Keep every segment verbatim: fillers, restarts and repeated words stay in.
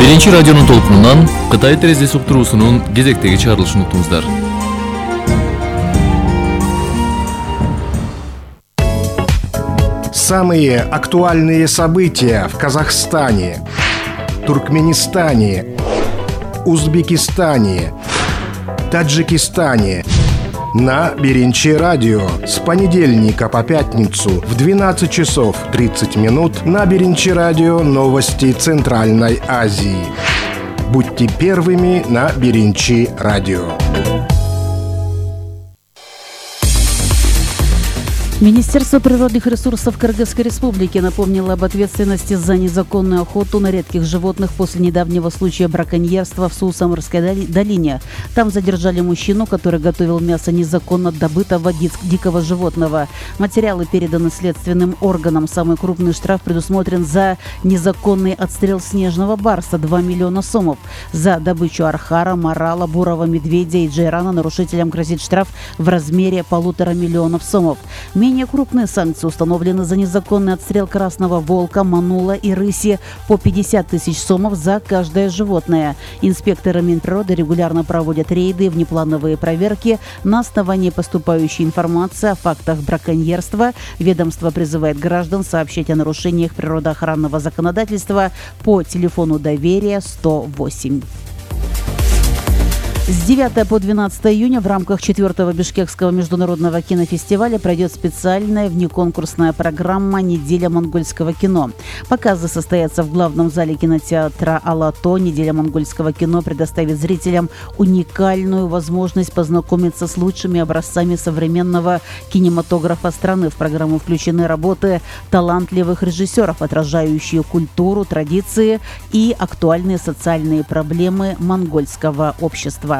Биринчи радионун толкунунан Кытай терезеси уктуруусунун кезектеги чыгарылышын уктуңуздар. Самые актуальные события в Казахстане, Туркменистане, Узбекистане, Таджикистане на Биринчи радио с понедельника по пятницу в двенадцать часов тридцать минут на Биринчи радио новости Центральной Азии. Будьте первыми на Биринчи радио. Министерство природных ресурсов Кыргызской Республики напомнило об ответственности за незаконную охоту на редких животных после недавнего случая браконьерства в Суу-Самырской долине. Там задержали мужчину, который готовил мясо незаконно добытого дикого животного. Материалы переданы следственным органам. Самый крупный штраф предусмотрен за незаконный отстрел снежного барса – два миллиона сомов. За добычу архара, морала, бурого медведя и джейрана нарушителям грозит штраф в размере полутора миллионов сомов. Менее крупные санкции установлены за незаконный отстрел красного волка, манула и рыси по пятьдесят тысяч сомов за каждое животное. Инспекторы Минприроды регулярно проводят рейды и внеплановые проверки на основании поступающей информации о фактах браконьерства. Ведомство призывает граждан сообщать о нарушениях природоохранного законодательства по телефону доверия сто восемь. С девятого по двенадцатое июня в рамках четвертого Бишкекского международного кинофестиваля пройдет специальная внеконкурсная программа «Неделя монгольского кино». Показы состоятся в главном зале кинотеатра «Алато». «Неделя монгольского кино» предоставит зрителям уникальную возможность познакомиться с лучшими образцами современного кинематографа страны. В программу включены работы талантливых режиссеров, отражающие культуру, традиции и актуальные социальные проблемы монгольского общества.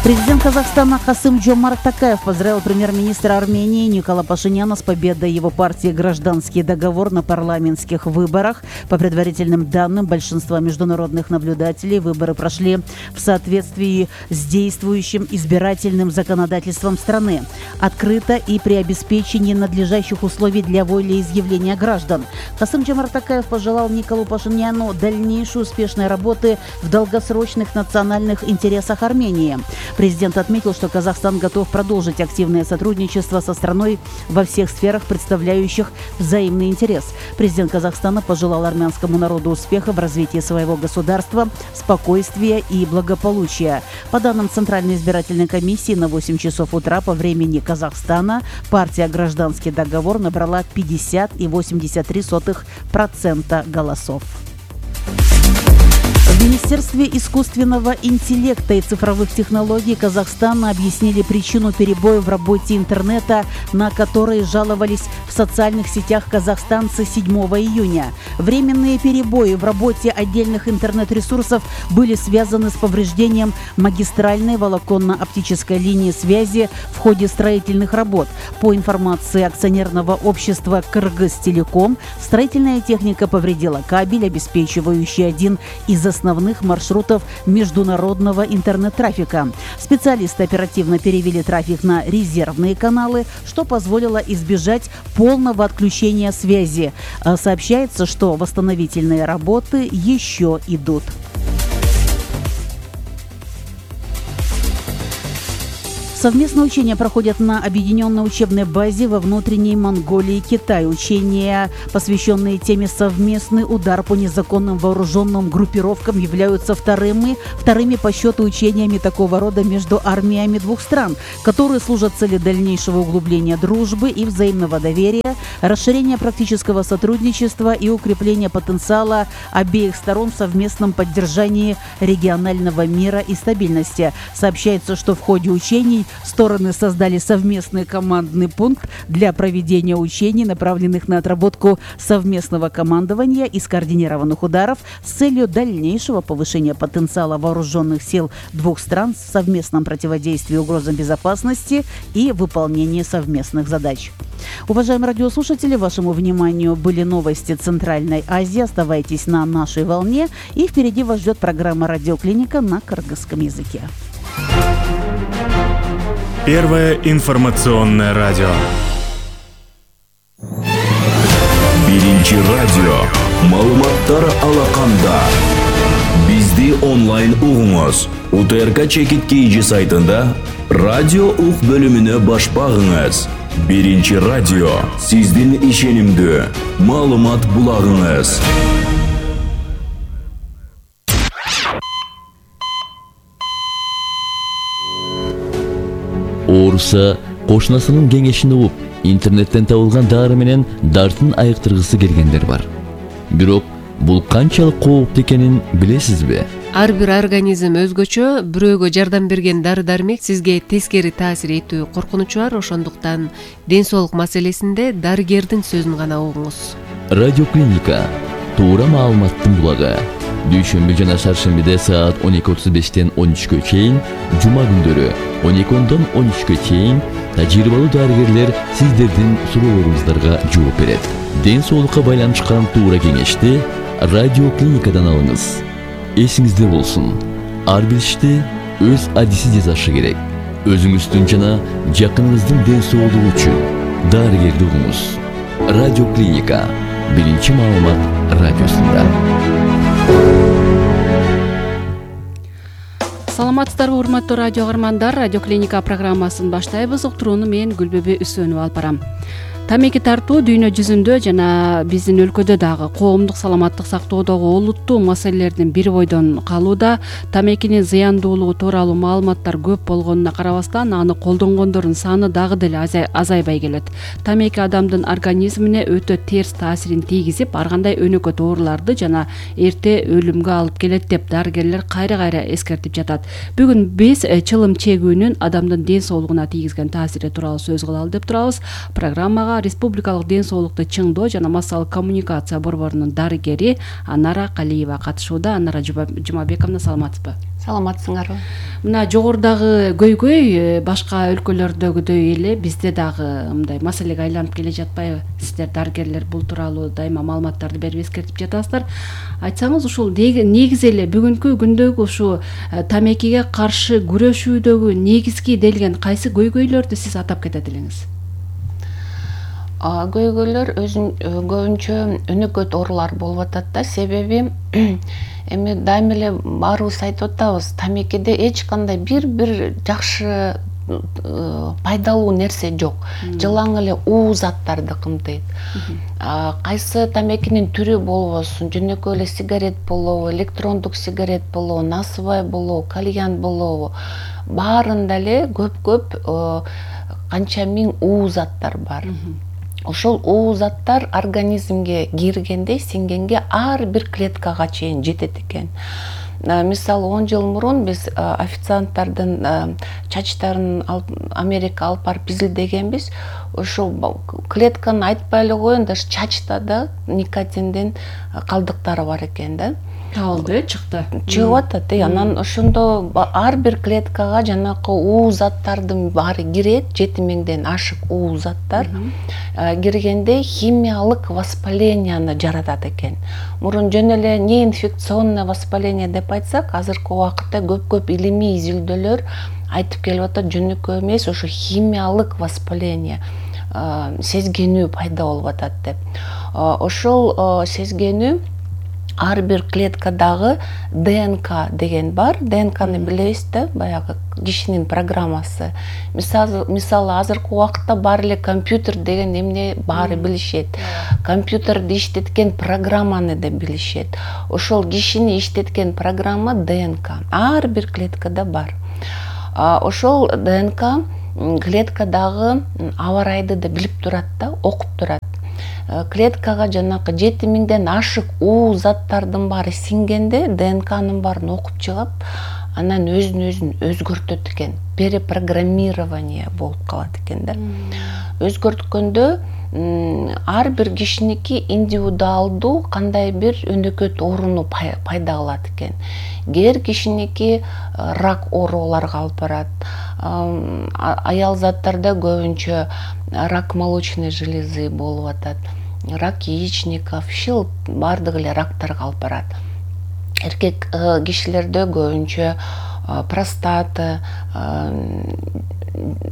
Президент Казахстана Касым-Жомарт Токаев поздравил премьер-министра Армении Никола Пашиняна с победой его партии «Гражданский договор» на парламентских выборах. По предварительным данным большинства международных наблюдателей, выборы прошли в соответствии с действующим избирательным законодательством страны, открыто и при обеспечении надлежащих условий для волеизъявления граждан. Касым-Жомарт Токаев пожелал Николу Пашиняну дальнейшей успешной работы в долгосрочных национальных интересах Армении. Президент отметил, что Казахстан готов продолжить активное сотрудничество со страной во всех сферах, представляющих взаимный интерес. Президент Казахстана пожелал армянскому народу успеха в развитии своего государства, спокойствия и благополучия. По данным Центральной избирательной комиссии, на восемь часов утра по времени Казахстана партия «Гражданский договор» набрала пятьдесят и восемьдесят три сотых процента голосов. В Министерстве искусственного интеллекта и цифровых технологий Казахстана объяснили причину перебоя в работе интернета, на которые жаловались в социальных сетях казахстанцы седьмого июня. Временные перебои в работе отдельных интернет-ресурсов были связаны с повреждением магистральной волоконно-оптической линии связи в ходе строительных работ. По информации акционерного общества «Кыргызтелеком», строительная техника повредила кабель, обеспечивающий один из основных маршрутов международного интернет-трафика. Специалисты оперативно перевели трафик на резервные каналы, что позволило избежать полного отключения связи. Сообщается, что восстановительные работы еще идут. Совместные учения проходят на объединенной учебной базе во внутренней Монголии и Китае. Учения, посвященные теме «Совместный удар по незаконным вооруженным группировкам», являются вторыми, вторыми по счету учениями такого рода между армиями двух стран, которые служат цели дальнейшего углубления дружбы и взаимного доверия, расширения практического сотрудничества и укрепления потенциала обеих сторон в совместном поддержании регионального мира и стабильности. Сообщается, что в ходе учений стороны создали совместный командный пункт для проведения учений, направленных на отработку совместного командования и скоординированных ударов с целью дальнейшего повышения потенциала вооруженных сил двух стран в совместном противодействии угрозам безопасности и выполнении совместных задач. Уважаемые радиослушатели, вашему вниманию были новости Центральной Азии. Оставайтесь на нашей волне, и впереди вас ждет программа «Радиоклиника» на кыргызском языке. Первое информационное радио. Биринчи радио. Маалыматтар алаканда. Бизди онлайн угуңуз. УТРК Чекит Кейджи сайтында радио ук бөлүмүнө баш багыңыз. Биринчи радио сиздин ишенимдүү маалымат булагыңыз. Ооруса кошунасынын кеңешин угуп, интернеттен табылган дары менен дартын айыктыргысы келгендер бар. Бирок бул канчалык кооптуу экенин билесизби? Ар бир организм өзгөчө, бирөөгө жардам берген дары-дармек сизге тескери таасир этүү коркунучу бар, ошондуктан ден соолук маселесинде дарыгердин сөзүн гана угуңуз. Радиоклиника туура маалыматтын булагы. Дүйшөмбү жана шаршембиде саат он эки отуз бештен он үчкө чейин, жума күндөрү он эки ондон он үчкө чейин тажрыйбалуу дарыгерлер сиздердин суроолоруңуздарга жооп берет. Ден соолукка байланышкан туура кеңешти радиоклиникадан алыңыз. Эсиңизде болсун, ар бир ишти өз адиси жасашы керек. Өзүңүздүн жана жакыныңыздын ден соолугу үчүн дарыгерди угуңуз. Радиоклиника биринчи маалымат радиосунда. Саламатсыздарбы, урматтуу радио каармандар. Радиоклиника программасын баштайбыз. Уктурууну мен Гүлбөбө Үсөнова алып барам. Тамеки тартуу дүйнө жүзүндө жана биздин өлкөдө дагы коомдук саламаттык сактоодогу олуттуу маселелердин бири бойдон калууда. Тамекинин зыяндуулугу тууралуу маалыматтар көп болгонуна карабастан, аны колдонгондордун саны дагы деле азайбай келет. Тамеки адамдын организмине өтө терс таасирин тийгизип, ар кандай өнөкөт ооруларды жана эрте өлүмгө алып келет деп дарыгерлер кайра-кайра эскертип жатат. Бүгүн биз чылым чегүүнүн адамдын ден соолугуна тийгизген таасири тууралуу сөз кылалы деп турабыз. Программага Республикалык ден соолукту чыңдоо жана массалык коммуникация борборунун дарыгери Анара Калиева катышууда. Анара Жумабековна, саламатсызбы? Саламатсыңарбы? Мына жогорудагы көйгөй башка өлкөлөрдөгүдөй эле бизде дагы мындай маселеге айланып келе жатпайбы? Сиздер дарыгерлер бул тууралуу дайыма маалыматтарды берип эскертип жатасыздар. Айтсаңыз, ушул негизи эле бүгүнкү күндөгү ушу тамекиге каршы күрөшүүдөгү негизги делген кайсы көйгөйлөрдү сиз атап кетет элеңиз? Көйгөйлөр өзүн көбүнчө өнөкөт оорулар болуп атат да. Себеби эми дайым эле баарыбыз айтып атабыз, тамекиде эч кандай бир-бир жакшы пайдалуу нерсе жок. Жылаң эле уу заттарды кымтыйт. Кайсы тамекинин түрү болбосун, жөнөкөй эле сигарет болобу, электрондук сигарет болобу, насыбай болобу, кальян болобу, баарында эле көп-көп канча миң уу заттар бар. Ошол уу заттар организмге киргенде, сиңгенге ар бир клеткага чейин жетет экен. Мисалы, он жыл мурун биз официанттардын чачтарын Америка алып барып изилдегенбиз. Ошол клетканы айтпай эле коеюн, даже чачта да никотиндин калдыктары бар экен да. Табылды, чыкты. Чыгып атат. Анан ошондо ар бир клеткага жанакы уу заттардын баары кирет, жети миңден ашык уу заттар. Киргенде химиялык воспаленияны жаратат экен. Мурун жөн эле неинфекционное воспаление деп айтсак, азыркы убакытта көп-көп илимий изилдөөлөр айтып келип атат, жөнөкөй эмес, ошо химиялык воспаление, сезгенүү пайда болуп атат деп. Ошол сезгенүү ар бир клеткадагы ДНК деген бар. ДНКны билебиз да, баягы кишинин программасы. Мисалы, азыркы убакытта бар эле компьютер деген эмне баары билишет. Компьютерди иштеткен программаны да билишет. Ошол кишини иштеткен программа ДНК. Ар бир клеткада бар. Ошол ДНК клеткадагы аба ырайды да билип турат да, окуп турат. Клеткага жанакы жети миңден ашык уу заттардын баары сиңгенде ДНКнын баарын окуп чыгып, анан өзүн өзүн өзгөртөт экен. Перепрограммирование болуп калат экен да. Өзгөрткөндө ар бир кишиники индивидуалдуу кандай бир өнөкөт ооруну пайда кылат экен. Кээ кишиники рак ооруларга алып барат. Аял заттарда көбүнчө рак молочной железы болуп атат. Рак яичников, шил бардык эле рактарга алып барат. Эркек кишилерде көбүнчө простата,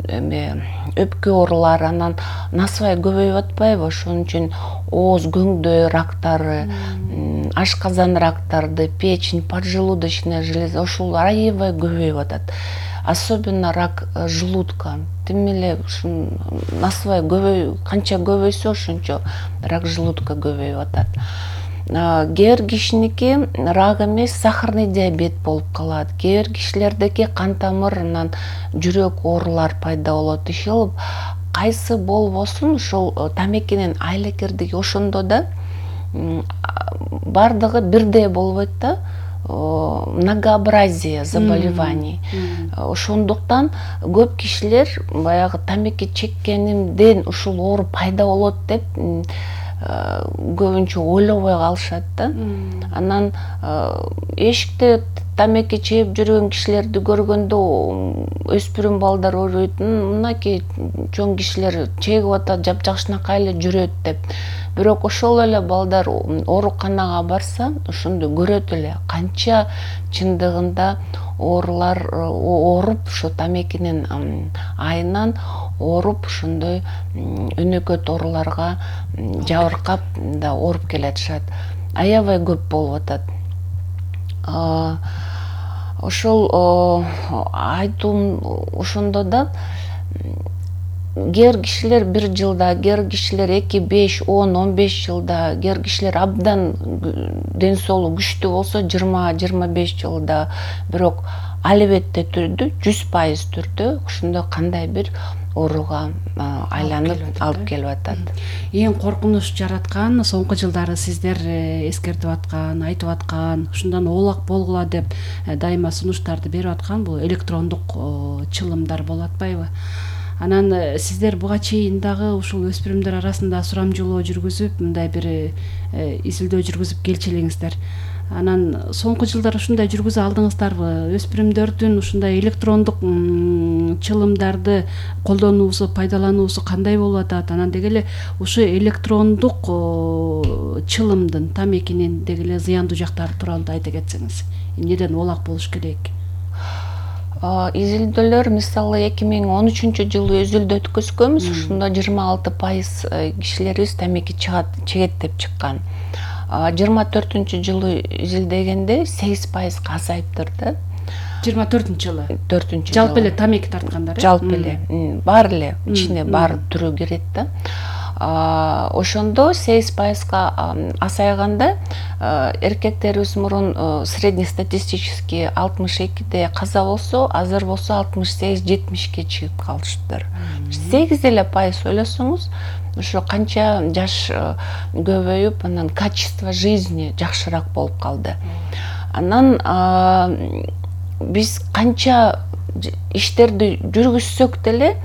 эме өпкө оорулары, анан насыбай көбөйүп атпайбы, ошон үчүн ооз көңдөй рактары, ашказан рактарды, печень, поджелудочная железа ошол аябай көбөйүп атат. Особенно рак желудка. Тим эле ушун насыбай көбөй канча көбөйсө ошончо рак желудка көбөйүп атат. Кээ бир кишиники рак эмес, сахарный диабет болуп калат. Кээ бир кишилердеки кан тамыр, анан жүрөк оорулар пайда болот. Ишил кайсы болбосун ушул тамекинин айлекердиги ошондо да бардыгы бирдей болбойт да. Многообразие заболеваний. Ошондуктан көп кишилер баягы тамеки чеккенимден ушул оору пайда болот деп көбүнчө ойлобой калышат да. Анан эшикте тамеки чегип жүргөн кишилерди көргөндө өспүрүм балдар ойлойт, мынакей чоң кишилер чегип атат, жапжакшынакай эле жүрөт деп. Бирок ошол эле балдар ооруканага барса, ошондо көрөт эле канча чындыгында оорулар ооруп, ошо тамекинин айынан ооруп, ошондой өнөкөт ооруларга жабыркап да ооруп келатышат. Аябай көп болуп атат. Ошол айтуум ошондо да кээ бир кишилер бир жылда, кээ бир кишилер эки, беш, он, он беш жылда, кээ бир кишилер абдан ден соолугу күчтүү болсо жыйырма, жыйырма беш жылда. Бирок албетте түрдө, жүз пайыз түрдө ошондой кандай бир ооруга айланып алып келип атат. Эң коркунуч жараткан соңку жылдары сиздер эскертип аткан, айтып аткан, ушундан оолак болгула деп дайыма сунуштарды берип аткан бул электрондук чылымдар болуп атпайбы? Анан сиздер буга чейин дагы ушул өспүрүмдөр арасында сурамжылоо жүргүзүп, мындай бир изилдөө жүргүзүп келчү элеңиздер. Анан соңку жылдары ушундай жүргүзө алдыңыздарбы? Өспүрүмдөрдүн ушундай электрондук чылымдарды колдонуусу, пайдалануусу кандай болуп атат? Анан деги эле ушу электрондук чылымдын тамекинин деги эле зыяндуу жактары тууралуу да айта кетсеңиз. Эмнеден оолак болуш керек? Изилдөөлөр мисалы эки миң он үчүнчү жылы изилдөө өткөзгөнбүз. Ушунда жыйырма алты пайыз кишилерибиз тамеки чегет деп чыккан. жыйырма төртүнчү жылы изилдегенде сегиз пайызга азайыптыр да. жыйырма төртүнчү жылы. төртүнчү жылы. Жалпы эле тамеки тарткандар, э? Жалпы эле. Бар эле, ичине бар түрү кирет да. Ошондо сегиз пайызга азайганда эркектерибиз мурун среднестатистический алтымыш экиде каза болсо, азыр болсо алтымыш сегиз жетимишке чыгып калышыптыр. сегиз эле пайыз ойлосоңуз, ошо канча жаш көбөйүп, анан качество жизни жакшыраак болуп калды. Анан биз канча иштерди жүргүзсөк деле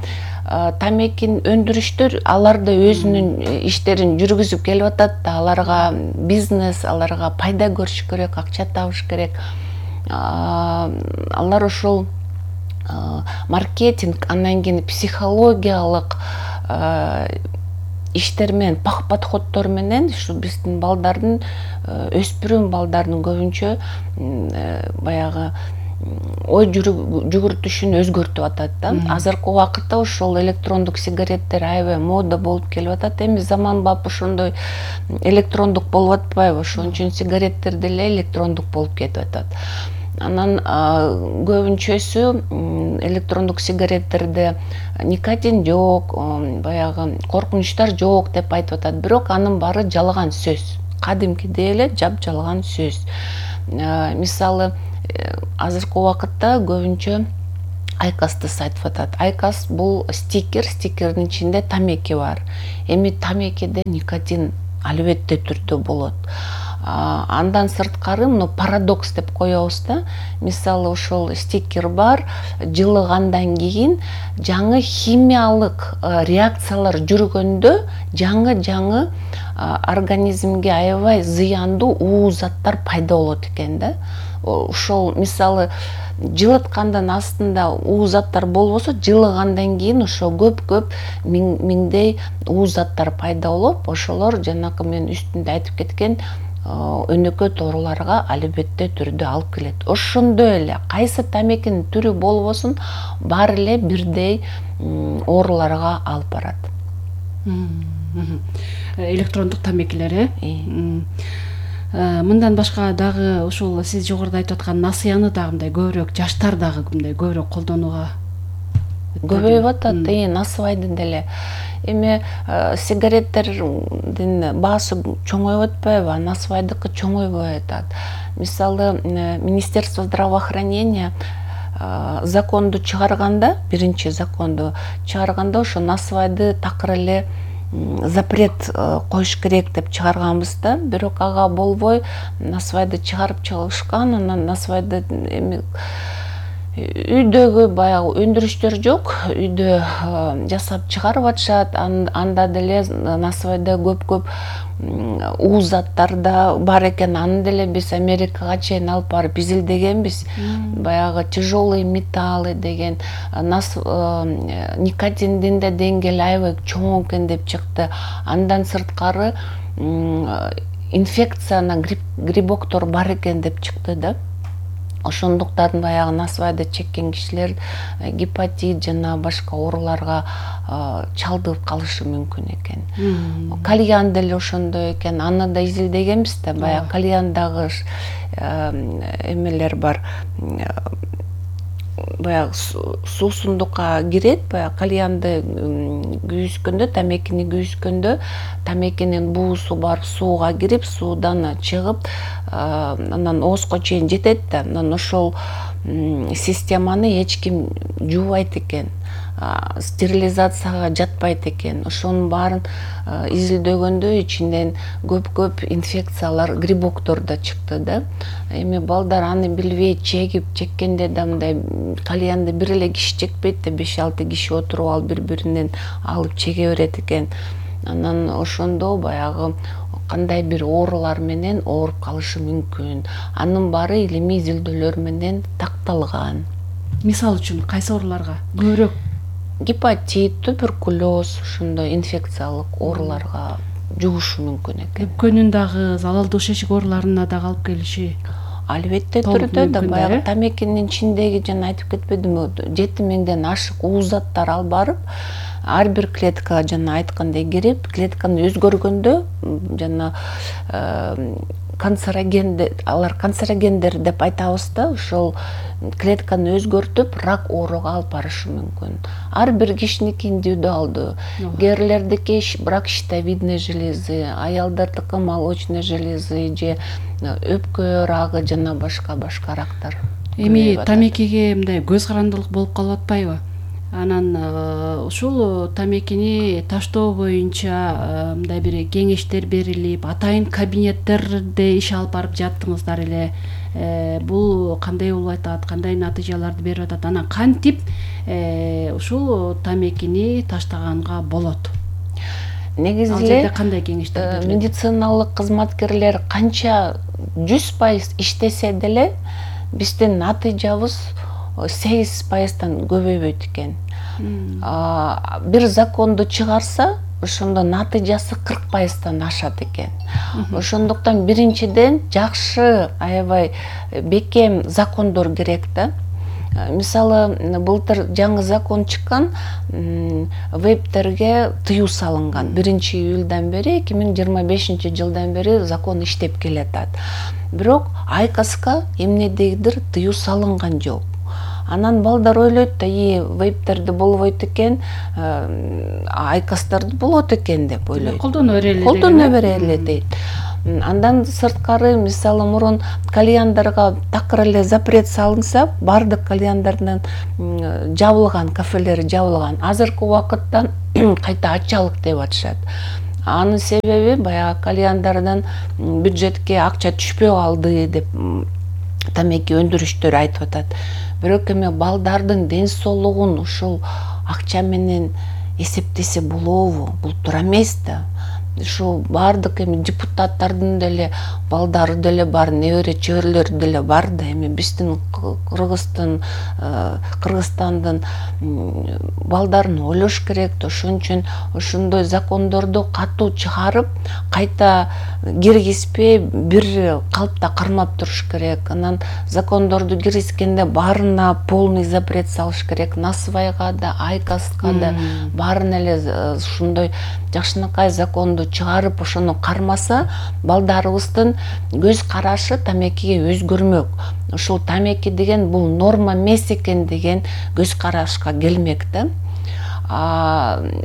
тамекин өндүрүштөр алар да өзүнүн иштерин жүргүзүп келип атат да, аларга бизнес, аларга пайда көрүш керек, акча табыш керек. Алар ошол маркетинг, андан кийин психологиялык иштер менен, подходдор менен ушу биздин балдардын, өспүрүм балдардын көбүнчө баягы ой жүгүртүшүн өзгөртүп атат да. Азыркы убакытта ошол электрондук сигареттер аябай мода болуп келип атат. Эми заманбап ошондой электрондук болуп атпайбы? Ошон үчүн сигареттер деле электрондук болуп кетип атат. Анан көбүнчөсү электрондук сигареттерде никотин жок, баягы коркунучтар жок деп айтып атат. Бирок анын баары жалган сөз. Кадимкидей эле жап-жалган сөз. Мисалы, азыркы убакытта көбүнчө айкасты айтып атат. Айкас бул стикер, стикердин ичинде тамеки бар. Эми тамекиде никотин албетте түрдө болот. Андан сырткары мына парадокс деп коебуз да. Мисалы ошол стикер бар, жылыгандан кийин жаңы химиялык реакциялар жүргөндө жаңы-жаңы организмге аябай зыяндуу уу заттар пайда болот экен да. Ошол мисалы жылыткандан астында уу заттар болбосо, жылыгандан кийин ошо көп-көп миңдей уу заттар пайда болуп, ошолор жанакы мен үстүндө айтып кеткен өнөкөт ооруларга албетте түрдө алып келет. Ошондой эле кайсы тамекинин түрү болбосун баары эле бирдей ооруларга алып барат. Электрондук тамекилер э? Мындан башка дагы ушул сиз жогоруда айтып аткан насыяны дагы мындай көбүрөөк жаштар дагы мындай көбүрөөк колдонууга көбөйүп атат. Насыбайды деле эми сигареттердин баасы чоңоюп атпайбы? Насыбайдыкы чоңойбой атат. Мисалы, Министерство здравоохранения законду чыгарганда, биринчи законду чыгарганда ошо насыбайды такыр эле запрет коюш керек деп чыгарганбыз да, бирок ага болбой насыбайды чыгарып чыгышкан. Анан насыбайды эми үйдөгү баягы өндүрүштөр жок, үйдө жасап чыгарып атышат. Анда деле насыбайда көп-көп уу заттар да бар экен. Аны деле биз Америкага чейин алып барып изилдегенбиз. Баягы тяжелые металлы деген, никотиндин да деңгээли аябай чоң экен деп чыкты. Андан сырткары инфекцияна грибоктор бар экен деп чыкты да. Ошондуктан баягы насыбайды чеккен кишилер гепатит жана башка ооруларга чалдыгып калышы мүмкүн экен. Кальян деле ошондой экен. Аны да изилдегенбиз да. Баягы кальяндагы эмелер бар. Баягы суусундукка кирет. Баягы кальянды күйүскөндө, тамекини күйүскөндө, тамекинин буусу барып сууга кирип, суудан чыгып, анан оозго чейин жетет да. Анан ошол системаны эч ким жуубайт экен. Стерилизацияга жатпайт экен. Ошонун баарын изилдөгөндө ичинден көп-көп инфекциялар, грибоктор да чыкты да. Эми балдар аны билбей чегип, чеккенде да мындай кальянды бир эле киши чекпейт да, беш алты киши отуруп алып бири-биринен алып чеге берет экен. Анан ошондо баягы кандай бир оорулар менен ооруп калышы мүмкүн. Анын баары илимий изилдөөлөр менен такталган. Мисалы үчүн кайсы ооруларга көбүрөөк? Гепатит, туберкулез, ошондой инфекциялык ооруларга жугушу мүмкүн экен. Өпкөнүн дагы залалдуу шешик ооруларына дагы алып келиши албетте түрдө да. Баягы тамекинин ичиндеги жана айтып кетпедимби, жети миңден ашык уу заттар алып барып, ар бир клеткага жана айткандай кирип, клетканы өзгөргөндө жана канцерогендер, алар канцерогендер деп айтабыз да, ошол клетканы өзгөртүп, рак ооруга алып барышы мүмкүн. Ар бир кишиники индивидуалдуу. Эрлердики рак щитовидной железы, аялдардыкы молочной железы же өпкө рагы жана башка-башка рактар. Эми тамекиге мындай көз карандылык болуп калып атпайбы? Анан ушул тамекини таштоо боюнча мындай бир кеңештер берилип, атайын кабинеттерде иш алып барып жаттыңыздар эле. Бул кандай болуп атат, кандай натыйжаларды берип атат? Анан кантип ушул тамекини таштаганга болот? Негизи эле кандай кеңештер берилет? Медициналык кызматкерлер канча жүз пайыз иштесе деле биздин натыйжабыз сегиз пайыздан көбөйбөйт экен. Бир законду чыгарса, ошондо натыйжасы кырк пайыздан ашат экен. Ошондуктан биринчиден жакшы, аябай бекем закондор керек да. Мисалы, былтыр жаңы закон чыккан, вейптерге тыюу салынган. биринчи июлдан бери, эки миң жыйырма бешинчи жылдан бери закон иштеп келатат. Бирок айкаска эмнедегидир тыюу салынган жок. Анан балдар ойлойт да, и вейптерди болбойт экен, айкастарды болот экен деп ойлойт. Колдоно берели. Колдоно берели дейт. Андан сырткары, мисалы, мурун кальяндарга такыр эле запрет салынса, бардык кальяндардан жабылган, кафелери жабылган. Азыркы убакытта кайта ачалык деп атышат. Анын себеби баягы кальяндардан бюджетке акча түшпөй калды деп тамеки өндүрүштөр айтып атат. Бирок эми балдардын ден соолугун ушул акча менен эсептесе болобу? Бул туура эмес да. Ушул бардык эми депутаттардын деле балдары деле бар, небере чөбүрлөрү деле бар да. Эми биздин Кыргызстан Кыргызстандын балдарын ойлош керек да. Ошон үчүн ошондой закондорду катуу чыгарып, кайта киргизбей бир калпта кармап туруш керек. Анан закондорду киргизгенде баарына полный запрет салыш керек. Насыбайга да, айкаска да баарын эле ушундай жакшынакай законду чыгарып, ошону кармаса, балдарыбыздын көз карашы тамекиге өзгөрмөк. Ушул тамеки деген бул норма эмес экен деген көз карашка келмек да.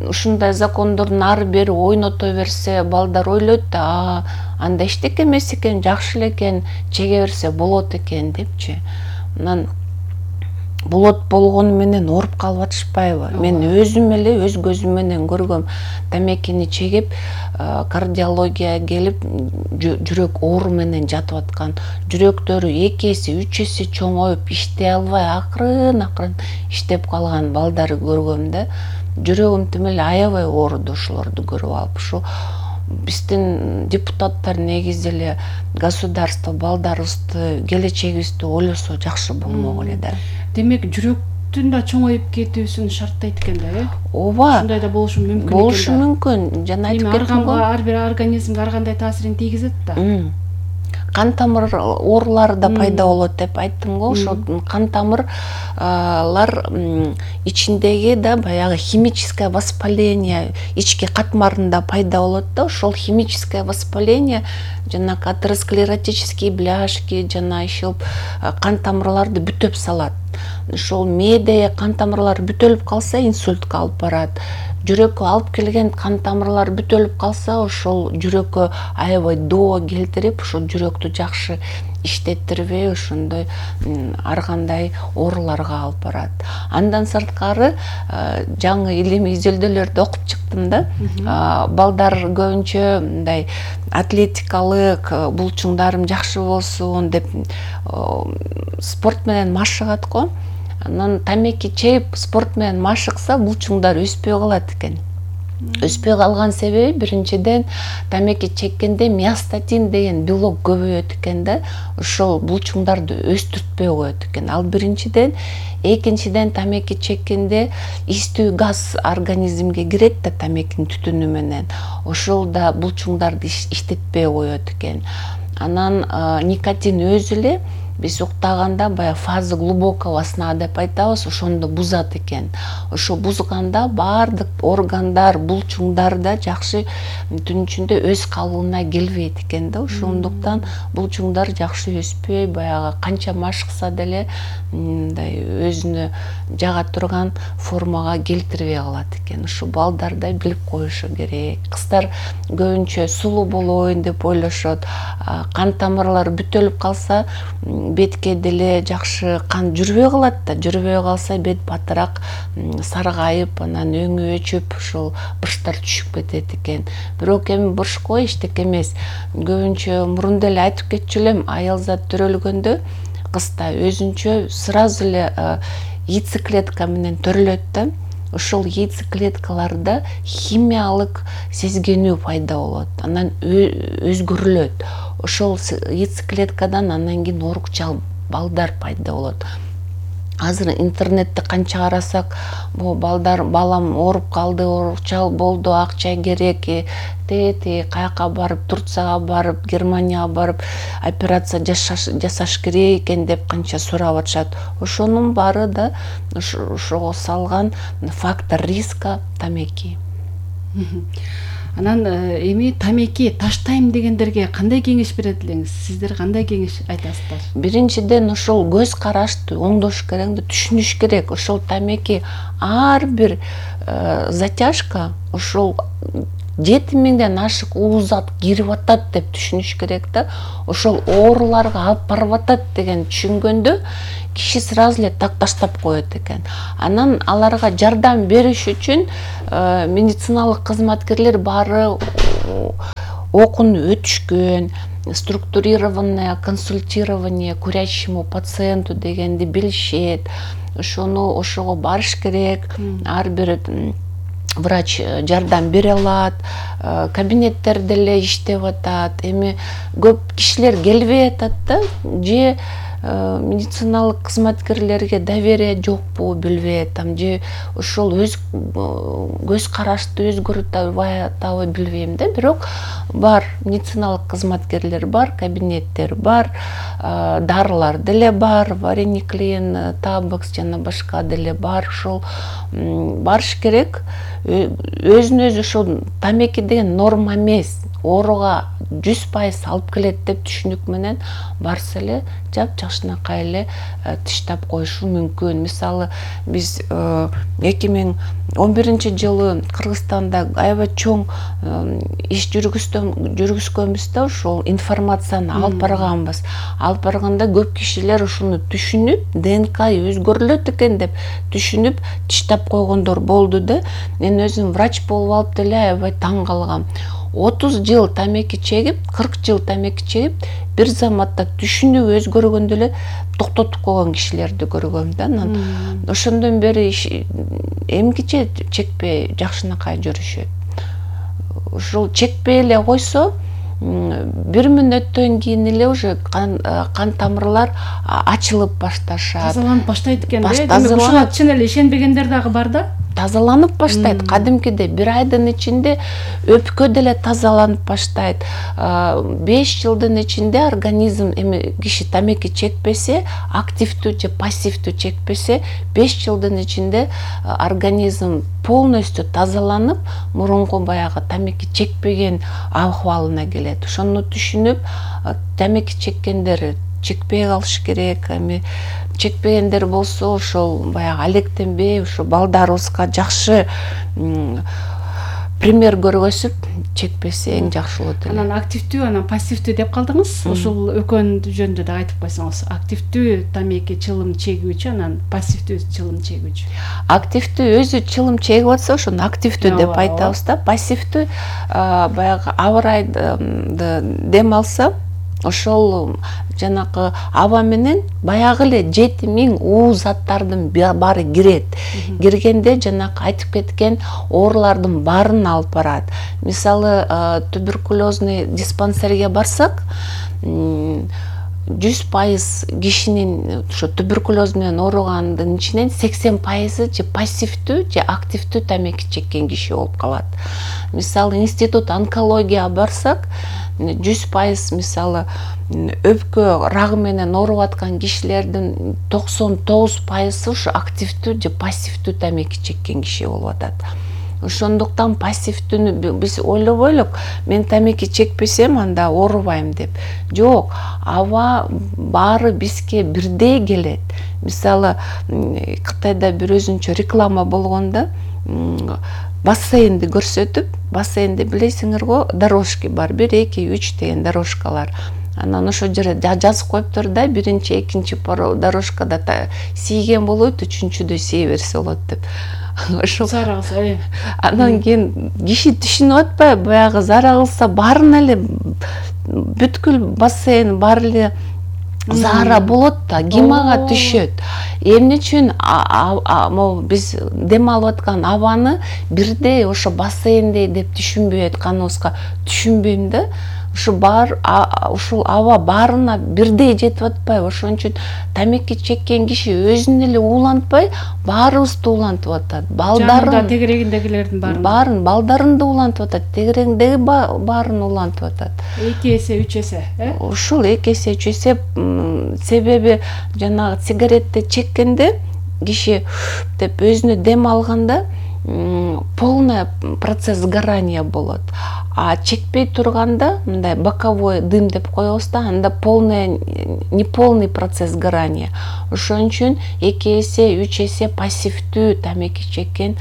Ушундай закондордун ары бери ойното берсе, балдар ойлойт да, анда эчтеке эмес экен, жакшы эле экен, чеге берсе болот экен депчи. Анан болот болгону менен ооруп калып атышпайбы? Мен өзүм эле өз көзүм менен көргөм. Тамекини чегип, кардиологияга келип, жүрөк оору менен жатып аткан, жүрөктөрү эки эсе, үч эсе чоңоюп, иштей албай акырын-акырын иштеп калган балдарды көргөм да. Жүрөгүм тим эле аябай ооруду ошолорду көрүп алып. Ушу биздин депутаттар негизи эле государство балдарыбызды, келечегибизди ойлосо жакшы болмок эле да. Демек, жүрөктүн да чоңоюп кетүүсүн шарттайт экен да, э? Ооба. Ушундай да болушу мүмкүн экен. Болушу мүмкүн. Жана айтып кеттим го. Ар бир организмге ар кандай таасирин тийгизет да. Кан тамыр оорулары да пайда болот деп айттым го. Ошо кан тамырлар ичиндеги да баягы химическое воспаление ички катмарында пайда болот да. Ошол химическое воспаление жана атеросклеротические бляшки, жана еще кан тамырларды бүтөп салат. Ошол мээде кан тамырлары бүтөлүп калса, инсультка алып барат. Жүрөккө алып келген кан тамырлар бүтөлүп калса, ошол жүрөккө аябай доо келтирип, ошол жүрөктү жакшы иштеттирбей, ошондой ар кандай ооруларга алып барат. Андан сырткары жаңы илимий изилдөөлөрдү окуп чыктым да. Балдар көбүнчө мындай атлетикалык булчуңдарым жакшы болсун деп спорт менен машыгат го. Анан тамеки чегип спорт менен машыкса, булчуңдар өспөй калат экен. Өспөй калган себеби биринчиден тамеки чеккенде миостатин деген белок көбөйөт экен да. Ошол булчуңдарды өстүртпөй коет экен. Ал биринчиден, экинчиден тамеки чеккенде истүү газ организмге кирет да тамекинин түтүнү менен. Ошол да булчуңдарды иштетпей коет экен. Анан никотин өзү эле биз уктаганда баягы фаза глубокого сна деп айтабыз, ошондо бузат экен. Ошо бузганда баардык органдар, булчуңдар да жакшы түн ичинде өз калыбына келбейт экен да. Ошондуктан булчуңдар жакшы өспөй, баягы канча машыкса деле мындай өзүнө жага турган формага келтирбей калат экен. Ушу балдар да билип коюшу керек. Кыздар көбүнчө сулуу болоюн деп ойлошот. Кан тамырлары бүтөлүп калса, бетке деле жакшы кан жүрбөй калат да. Жүрбөй калса бет батыраак саргайып, анан өңү өчүп, ушул бурчтар түшүп кетет экен. Бирок эми бурчко эчтеке эмес. Көбүнчө мурун деле айтып кетчү элем, аял зат төрөлгөндө кызда өзүнчө сразу эле яйцеклетка менен төрөлөт да. Ошол яйцеклеткаларда химиялык сезгенүү пайда болот. Анан өзгөрүлөт. Ошол яйцеклеткадан анан кийин оорукчал балдар пайда болот. Азыр интернетте канча карасак, бу балдар балам ооруп калды, оорукчал болду, акча керек, тети каяка барып, Турцияга барып, Германияга барып операция жасаш керек экен деп канча сурап атышат. Ошонун баары да ошого салган фактор риска тамеки. Анан эми тамеки таштайм дегендерге кандай кеңеш берет элеңиз? Сиздер кандай кеңеш айтасыздар? Биринчиден ошол көз карашты оңдош керек, түшүнүш керек. Ошол тамеки ар бир затяжка ошол жети миңден ашык уузат кирип атат деп түшүнүш керек да. Ошол ооруларга алып барып атат деген түшүнгөндө киши сразу эле так таштап коет экен. Анан аларга жардам бериш үчүн медициналык кызматкерлер баары окууну өтүшкөн, структурированное консультирование курящему пациенту дегенди билишет. Ошону ошого барыш керек. Ар бир врач жардам бере алат, кабинеттер деле иштеп атат. Эми көп кишилер келбей атат да, же медициналык кызматкерлерге доверие жокпу билбей атам, же ошол өз көз карашты өзгөртүп атабы билбейм да. Бирок бар, медициналык кызматкерлер бар, кабинеттер бар, дарылар деле бар, варениклин, табекс жана башка деле бар. Ошол барыш керек. Өзүн өзү ошол тамеки деген норма эмес, ооруга жүз пайыз алып келет деп түшүнүк менен барса эле жап жакшынакай эле тыштап коюшу мүмкүн. Мисалы биз эки миң он биринчи жылы Кыргызстанда аябай чоң иш жүргүзгөнбүз да, ошол информацияны алып барганбыз. Алып барганда көп кишилер ушуну түшүнүп, ДНК өзгөрүлөт экен деп түшүнүп тыштап койгондор болду да. Мен өзүм врач болуп алып деле аябай таң калгам. отуз жыл тамеки чегип, кырк жыл тамеки чегип, бир заматта түшүнүп өзгөргөндө эле токтотуп койгон кишилерди көргөм да. Анан ошондон бери эмгиче чекпей жакшынакай жүрүшөт. Ушул чекпей эле койсо, бир мүнөттөн кийин эле уже кан, кан тамырлар ачылып башташат. Тазаланып баштайт экен да. Демек ушуга чын эле ишенбегендер дагы бар да. Тазаланып баштайт. Кадимкиде бир айдын ичинде өпкө деле тазаланып баштайт. беш жылдын ичинде организм, эми киши тамеки чекпесе, активдүү же пассивдүү чекпесе, беш жылдын ичинде организм полностью тазаланып, мурунку баягы тамеки чекпеген абалына келет. Ошону түшүнүп, тамеки чеккендер чекпей калыш керек. Эми чекпегендер болсо, ошол баягы алектенбей, ошо балдарыбызга жакшы пример көргөзүп чекпесе эң жакшы болот эле. Анан активдүү, анан пассивдүү деп калдыңыз. Ошол экөөнү жөнүндө да айтып койсоңуз. Активдүү тамеки чылым чегүүчү, анан пассивдүү чылым чегүүчү. Активдүү өзү чылым чегип атса, ошону активдүү деп айтабыз да. Пассивдүү баягы абырайды дем алса, ошол жанакы аба менен баягы эле жети миң уу заттардын баары кирет. Киргенде жанакы айтып кеткен оорулардын баарын алып барат. Мисалы, туберкулезный диспансерге барсак, жүз пайыз кишинин ошо туберкулез менен ооругандын ичинен сексен пайызы же пассивдүү же активдүү тамеки чеккен киши болуп калат. Мисалы, институт онкология барсак, жүз пайыз мисалы өпкө рагы менен ооруп аткан кишилердин токсон тогуз пайызы ушу активдүү же пассивдүү тамеки чеккен киши болуп атат. Ошондуктан пассивдүүнү биз ойлобой элек, мен тамеки чекпесем анда оорубайм деп. Жок, аба баары бизге бирдей келет. Мисалы, Кытайда бир өзүнчө реклама болгондо, бассейнди көрсөтүп, бассейнде билесиңер го, дорожки бар, бир, эки, үч деген дорожкалар. Анан ошол жерде жазып коюптур да, биринчи, экинчи дорожкада тийген болот, үчүнчүдө сие берсе болот деп. Ошол зара кылса. Анан кийин киши түшүнүп атпайбы, баягы зара кылса баарын эле бүткүл бассейн баары эле зара болот да, гимага түшөт. Эмне үчүн биз дем алып аткан абаны бирдей ошо бассейндей деп түшүнбөй атканыбызга түшүнбөйм да. Ушу бар, ушул аба баарына бирдей жетип атпайбы? Ошон үчүн тамеки чеккен киши өзүн эле уулантпай, баарыбызды уулантып атат. Балдарын, тегерегиндегилердин баарын. Баарын, балдарын да уулантып атат, тегерегиндеги баарын уулантып атат. эки эсе, үч эсе, э? Ушул эки эсе, үч эсе, себеби жанагы сигаретти чеккенде киши деп өзүнө дем алганда полный процесс сгорания болот. А чекпей турганда, мындай боковой дым деп коебуз да, анда полный, неполный процесс сгорания. Ошон үчүн эки эсе, үч эсе пассивдүү тамеки чеккен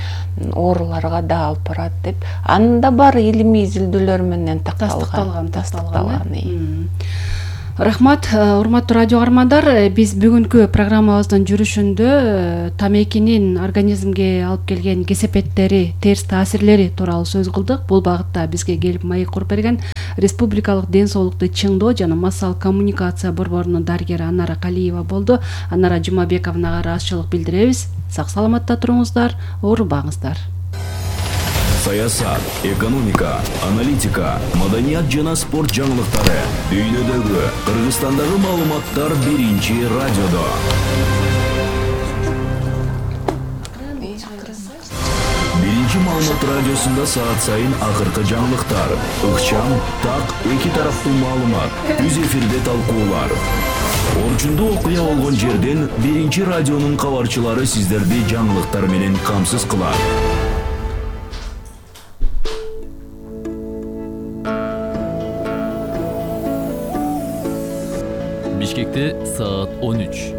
ооруларга да алып барат деп. Анда бар илимий изилдөөлөр менен такталган, тастыкталган. Рахмат, урматтуу радио каармандар, биз бүгүнкү программабыздын жүрүшүндө тамекинин организмге алып келген кесепеттери, терс таасирлери тууралуу сөз кылдык. Бул багытта бизге келип маек куруп берген Республикалык ден соолукту чыңдоо жана массалык коммуникация борборунун дарыгери Анара Калиева болду. Анара Жумабековнага ыраазычылык билдиребиз. Сак саламатта туруңуздар, оорубаңыздар. саясат, экономика, аналитика, маданият жана спорт жаңылыктары, дүйнөдөгү, Кыргызстандагы маалыматтар биринчи радиодо. Биринчи маалымат радиосунда саат сайын акыркы жаңылыктар, ыкчам, так, эки тараптуу маалымат, түз эфирде талкуулар. Орчундуу окуя болгон жерден биринчи радионун кабарчылары сиздерди жаңылыктар менен камсыз кылат. Бишкекте саат он үч.